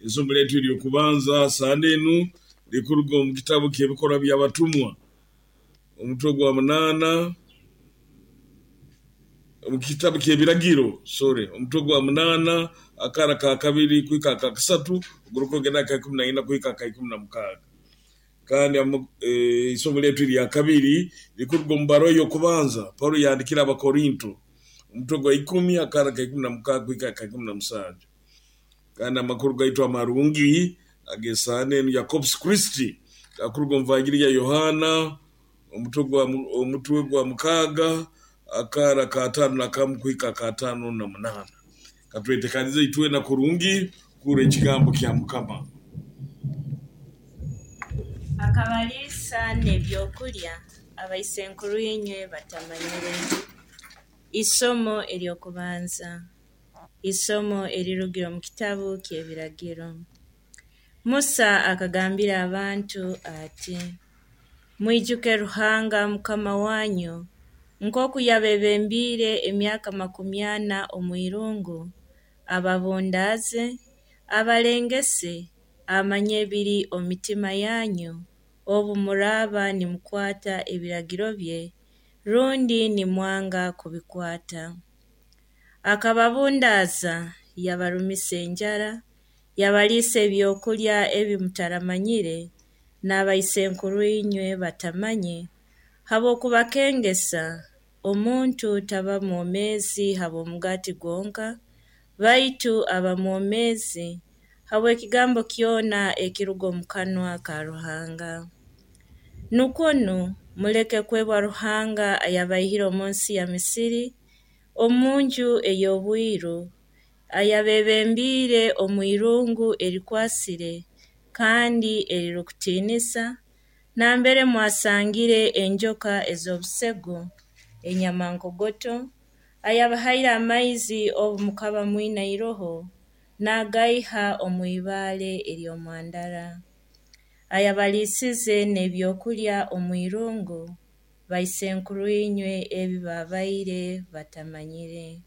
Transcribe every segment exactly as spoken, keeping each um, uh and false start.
Isomo lyaitu ery'okubanza sande enu likuruga omu kitabu ky'Ebikorwa by'Abatumwa, omutwe gwa munaana, omu kitabu ky'Ebiragiro, sorry, omutwe gwa munaana, akara ka kabiri kuhika aka kasatu, ogurukwongera aka ikumi na ina kuhika aka ikumi na mukaaga. Kandi isomo lyaitu erya kabiri likuruga omu bbaruha ey'okubanza Paulo yahandiikire Abakorinto, omutwe gwa ikumi, akara ka ikumi na mukaaga kuhika aka ikumi na musanju. Kandi amakuru gaitu amarungi ag'esaande enu ya Corpus Christi gakuruga omu Vangiri ya Yohaana, omutwe gwa omutwe gwa mukaaga, akaara k'ataano na kamu kuhika ak'ataano na munaana. Katweteekanize itwena kurungi kuhurra ekigambo kya Mukama. Akabaliisa n'ebyokulya abaisenkuru inywe batamanyire. Isomo ery'okubanza, isomo erirugire omu kitabu ky'Ebiragiro. Musa akagambira abantu ati: "Mwijuke Ruhanga Mukama wanyu nkooku yabeebembiire emyaka makumi ana omwirungu, ababundaaze, abalengese, amanye ebiri omu mitima yanyu, obu muraaba nimukwata ebiragiro bye rundi nimwanga kubikwata. Akababundaaza, yabarumisa enjara, yabaliisa ebyokulya ebi mutaramanyire, n'abaisenkuru inywe batamanye, habw'okubakengesa, omuntu taba mwomeezi habw'omugaati gwonka, baitu aba mwomeezi habw'ekigambo kyona ekiruga omu kanwa ka Ruhanga. Nukwo nu muleke kwebwa Ruhanga ayabaihire omunsi ya Misiri, omunju ey'obwiru, ayabeebembiire omwirungu erikwasire kandi erirukutiinisa, nambere mwasangire enjoka ez'obusegu, enyamankogoto, ayabahaire amaizi obu mukaba mwina iroho, naagaiha omu ibaale ery'omwandara, ayabaliisize n'ebyokulya omwirungu, baisenkuru inywe ebi baabaire batamanyire."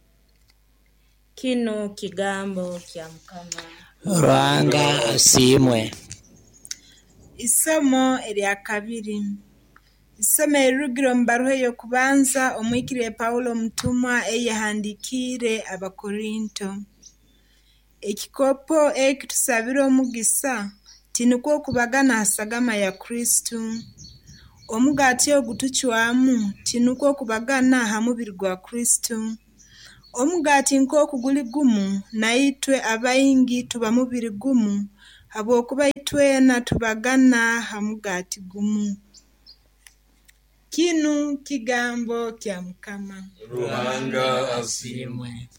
Kinu kigambo kya Mukama. Ruhanga asiimwe. Isomo erya kabiri. Isomo erirugire omu bbaruha ey'okubanza Omuhikiriire Paulo omutumwa ei yahandiikiire Abakorinto. Ekikopo eki tusabira omugisa, tinukwo kubagana ha sagama ya Kristo? Omugaati ogu tucwamu, tinukwo kubagana ha mubiri gwa Kristo? Omugaati nkooku guli gumu, na itwe abaingi tuba mubiri gumu, habwokuba itwena tubagana ha mugaati gumu. Kinu kigambo kya Mukama. Ruhanga asiimwe.